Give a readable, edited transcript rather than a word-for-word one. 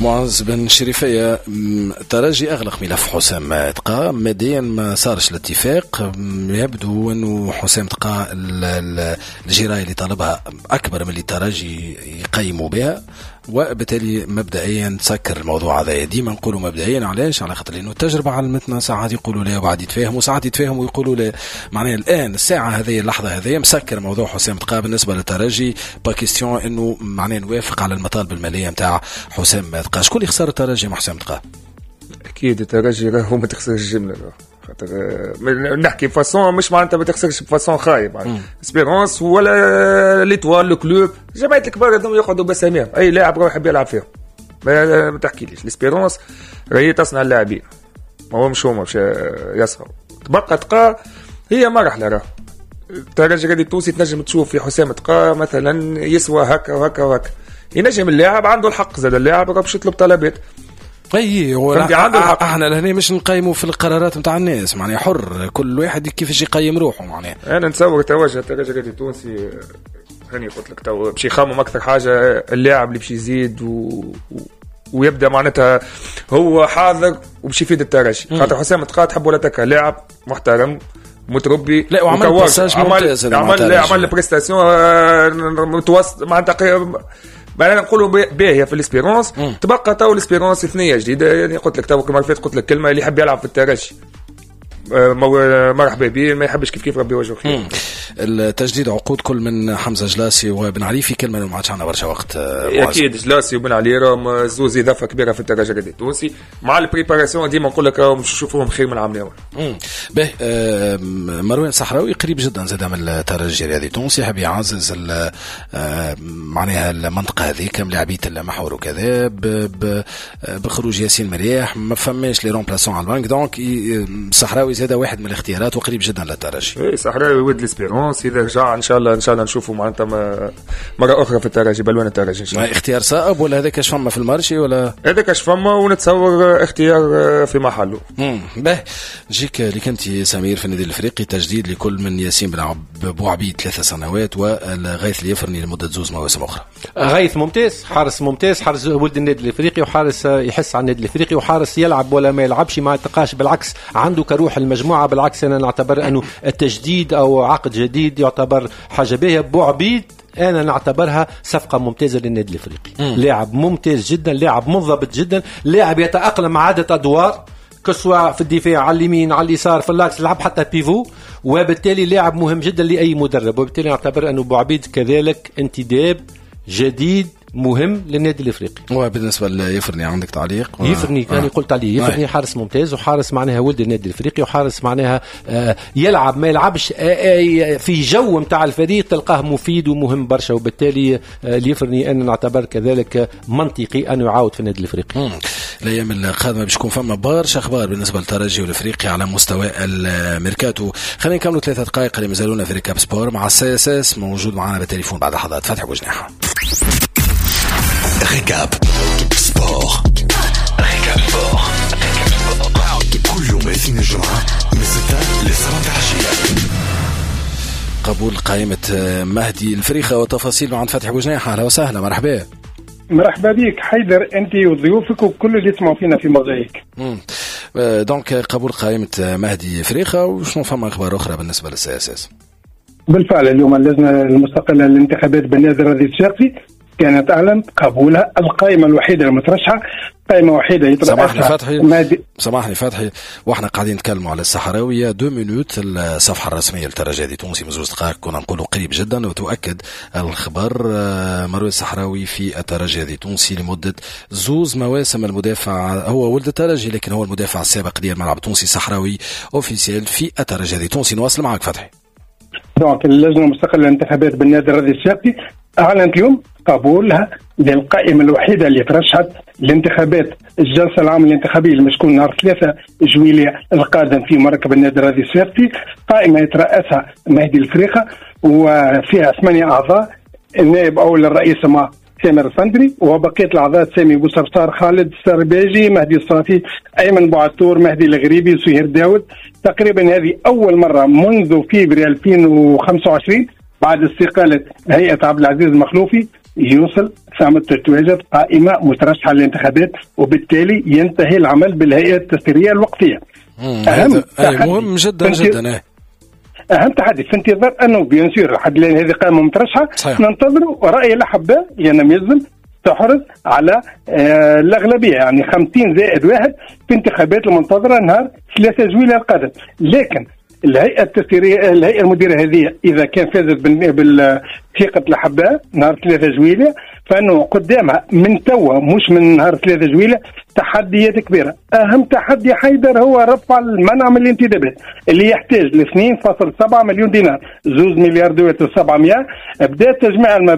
معز بن شريفية، ترجي أغلق ملف حسام تقا، ماديا ما صارش الاتفاق، يبدو أنه حسام تقا الجراية اللي طلبها أكبر من اللي الترجي يقيموا بها، وبالتالي مبدئيا تسكر الموضوع هذا. ديما نقولوا مبدئيا، علاش؟ على خاطر لانه التجربة علمتنا ساعات يقولوا لا وبعد يتفاهموا، ساعات يتفاهموا ويقولوا لا. معناها الان الساعة هذه اللحظة هذه مسكر موضوع حسام تقا بالنسبة للترجي، pas question انه معناها نوافق على المطالب المالية نتاع حسام تقا. شكون اللي خسر الترجي مع حسام تقا؟ اكيد الترجي راهو ما تخسرش الجملة، خاطر نحكي façon مش معناتها ما تخسرش ب façon خايب، Espérance ولا l'Étoile، le Club، جمعية الكبار هذوما يقعدوا بساميهم، اي لاعب راهو يحب يلعب فيهم. ما تحكيليش l'Espérance راهي تصنع اللاعبين، ما هو مش هما باش يصنعوا. تبقى تقا هي مرحلة، راه الترجي الرياضي التونسي تنجم تشوف في حسام تقا مثلا يسوى هكا وهكا وهكا، ينجم اللاعب عنده الحق زاد اللاعب باش يطلب طلبات. اي هو عنده الحق. احنا لهنا مش نقيموا في القرارات نتاع الناس، معناها حر كل واحد كيفاش يقيم روحه. معناها انا نتصور توجه الترجي الرياضي التونسي هاني قلت لك تو باش يخمم اكثر حاجة اللاعب اللي باش يزيد ويبدا معناتها هو حاضر وباش يفيد الترجي، خاطر حسام تقا تحب ولا تكره لاعب محترم متربي، لا وعمل passage ممتاز، عمل prestation متوسط معناتها معناها نقولوا باهيه في l'Espérance. تبقى تو l'Espérance ثنيه جديدة، يعني قلت لك تو كما فات قلت لك كلمة اللي يحب يلعب في الترجي مرحبا به، ما يحبش كيف كيف ربي يوجهه خير. التجديد عقود كل من حمزة جلاسي وبن علي في كلمة، ما عادش عندنا برشا وقت. اكيد جلاسي وبن علي راهم زوز اضافه كبيرة في الترجي الرياضي التونسي، مع ال préparation ديما نقول لك راهم نشوفوهم خير من العام الاول. به مروان صحراوي قريب جدا زاد من الترجي الرياضي التونسي، حاب يعزز معناها المنطقة هذيك ملاعبيه المحور وكذا بخروج ياسين مرياح، ما فماش les remplaçants على ال banc، donc صحراوي زاد واحد من الاختيارات وقريب جدا للترجي. اي صحراوي ولد l'Espérance، اذا رجع ان شاء الله ان شاء الله نشوفه معناتها مرة اخرى في الترجي بلوان الترجي ان شاء الله. اختيار صائب ولا هذاك اش فما في ال marché ولا هذاك اش فما، ونتصور اختيار في محله. به نجيك لك انت سمير في النادي الافريقي، تجديد لكل من ياسين بن بوعبيد 3 سنوات والغيث اليفرني لمدة 2 مواسم اخرى. غيث ممتاز، حارس ممتاز، حارس ولد النادي الافريقي وحارس يحس على النادي الافريقي وحارس يلعب ولا ما يلعبش ما يتقاش، بالعكس عنده كروح المجموعة. بالعكس انا نعتبر انه التجديد او عقد جديد يعتبر حاجة باهيه. بوعبيد انا نعتبرها صفقة ممتازة للنادي الافريقي، لاعب ممتاز جدا، لاعب منضبط جدا، لاعب يتاقلم مع عده ادوار كسوا في الدفاع على اليمين على اليسار في l'axe، لعب حتى pivot، وبالتالي لاعب مهم جدا لاي مدرب، وبالتالي نعتبر انه بوعبيد كذلك انتداب جديد مهم للنادي الافريقي. وبالنسبة ليفرني عندك تعليق؟ يفرني كان قلت عليه يفرني حارس ممتاز وحارس معناها ولد النادي الافريقي وحارس معناها يلعب ما يلعبش في جو نتاع الفريق تلقاه مفيد ومهم برشا، وبالتالي اليفرني انا نعتبر كذلك منطقي انه يعاود في النادي الافريقي. الايام القادمة باش يكون فما برشا اخبار بالنسبة للترجي والافريقي على مستوى الميركاتو. خلينا نكملوا 3 دقائق اللي مازالونا في Récap Sport مع ال CSS موجود معنا بالتليفون بعد لحظات. فتحي بوجناحه. Récap Sport. Récap Sport. كل يوم اثنين الجمعة من 6 ل 7 العشية. قبول قائمة مهدي الفريخة وتفاصيل عند فتحي بوجناحة. أهلا وسهلا، مرحبا. مرحبا بك حيدر، أنت وضيوفك وكل اللي يسمعوا فينا في موزايك. donc قبول قائمة مهدي فريخة، وشنو فما أخبار أخرى بالنسبة لل CSS؟ بالفعل اليوم اللجنة المستقلة للانتخابات بالنادي الرياضي الصفاقسي كانت أعلنت قبولها القائمة الوحيدة المترشحة، قائمة وحيدة يترأسها سامحني فتحي، واحنا قاعدين نتكلموا على الصحراوية 2 minutes. الصفحة الرسمية للترجي التونسي من 2 دقائق كنا نقولوا قريب جدا، وتؤكد الخبر مروان الصحراوي في الترجي التونسي لمدة 2 مواسم. المدافع هو ولد الترجي لكن هو المدافع السابق ديال الملعب التونسي، صحراوي officiel في الترجي التونسي. نواصل معك فتحي. donc اللجنة المستقلة للانتخابات بالنادي الرياضي الصفاقسي أعلنت اليوم قبولها للقائمة الوحيدة اللي ترشحت لانتخابات الجلسة العامة الانتخابية اللي تكون نهار 3 جويلية القادم في مركب النادي الرياضي الصفاقسي. قائمة يترأسها مهدي الفريخة وفيها 8 أعضاء، النائب أول الرئيس مع سامر الفندري، وبقية الأعضاء سامي بوصرصار، خالد السرباجي، مهدي الصافي، أيمن بوعتور، مهدي الغريبي، سهير داود. تقريبا هذه أول مرة منذ فبراير 2025 بعد استقالة هيئة عبد العزيز المخلوفي يوصل ثم تتواجد قائمة مترشحه للانتخابات، وبالتالي ينتهي العمل بالهيئة التسييريه الوقتية. اهم مهم جدا جدا. اهم تحدي في انتظار انه bien sûr لحد الان هذه قائمة مترشحه. ننتظروا راي الاحباء، لان يلزم تحرز على الاغلبية، يعني 50+1 في انتخابات المنتظره نهار 3 جويلية القادم. لكن الهيئة التسييريه، الهيئة المديرة هذه، اذا كان فازت بالثقة الاحباء نهار 3 جويلية، فانه قدامها من توا، مش من نهار 3 جويلية، تحديات كبيرة. اهم تحدي حيدر هو رفع المنع من الانتدابات اللي يحتاج ل 2.7 مليون دينار، 2 مليار دوات و700. بدا تجميع.